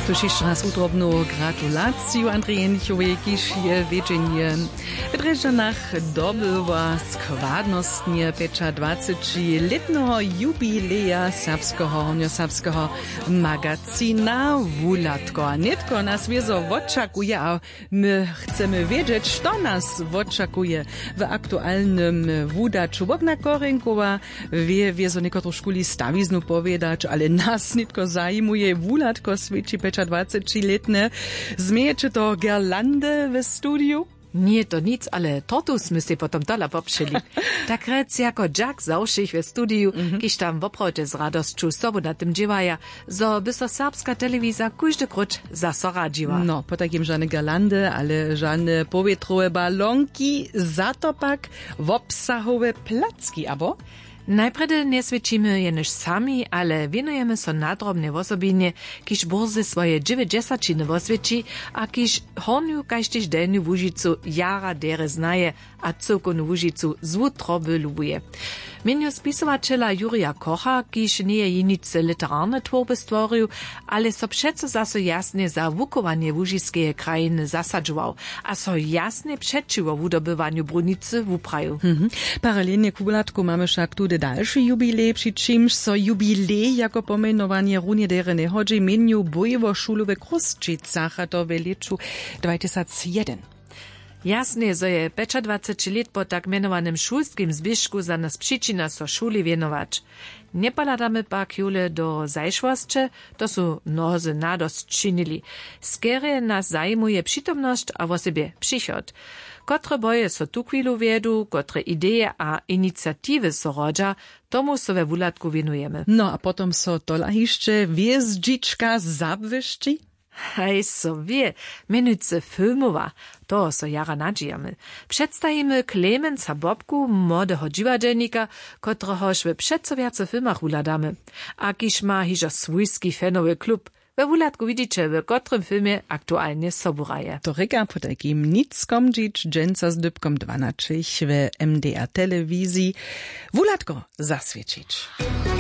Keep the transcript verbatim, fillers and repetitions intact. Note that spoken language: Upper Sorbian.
Tuž hišće raz wutrobnu gratulaciju Andrej Jenichowej, kiž je wjedźenje w Drježdźanach dobyła składnostnje pjećadwacećilětneho jubileja serbskeho hornjoserbskeho magazina Wuhladko. A nětko nas wězo wočakuje a my chcemy wědźeć, što nas wočakuje w aktualnym wudaću. Bogna Korenkowa wě wězo někotružkuli stawiznu powědać, ale nas nětko zajimuje, Wuhladko swěći pjećadwacećilětne. Změjeće to girlandy w studiju? Njeje to nic, ale tortu smy sej potom tola popřeli. Tak rjec jako dźak za wšěch w studiju, kiž tam woprawdźe z radosću sobu na tym dźěłaja, zo by so serbska telewiza kóždy króć zaso radźiła. No, potajkim žane girlandy, ale žane powětrowe balonki, za to pak wobsahowe placki, abo? Najprjedy njeswěćimy jenož sami, ale wěnujemy so nadrobnje wosobinje, kiž burze swoje dźewjećdźesaćiny woswěći a kiž Hornju kaž tež Delnju Łužicu jara derje znaje a cyłkownu Łužicu z wutroby lubuje. Mjenju spisowaćela Jurija Kocha, kiž njeje jeničce literarne twórby stworił, ale so přeco zaso jasnje za wuchowanje łužiskeje krajiny zasadźował a so jasnje přećiwo wudobywanju brunicy wuprajił. Paralelnje k Wuhladku mamy wšak tudy dalši jubilej, při čimž so jubilej jako pomjenowanje runje derje njehodźi. Mjenju bójło šulu we Chrósćicach, a to w lěću dwatysacjedyn. Jasnje, zo je pjećadwaceći lět po tak mjenowanym šulskim zběžku za nas přičina so šuli wěnować. Njepahladamy pak jóle do zašłosće, to su mnozy nadosć činili. Skerje nas zajimuje přitomnosć a wosebje přichod. Kotre boje so tuchwilu wjedu, kotre ideje a iniciatiwy so rodźa, tomu so we Wuhladku wěnujemy. No a potom so tola hišće hwězdźička zabłyšći. Haj so wě, mjenujcy filmowa. Toho so jara nadźijamy. Předstajimy Klemensa Bobku, młodeho dźiwadźelnika, kotrehož w přeco wjace filmach wuhladamy. A kiž ma hižo swójski fanowy klub. We Wuhladku widźiće, w kotrym filmje aktualnje sobu hraje. To rěka potajkim Nic Komdźić, dźensa z dypkom dwanaćich w M D R telewiziji. Wuhladko zaswěćić.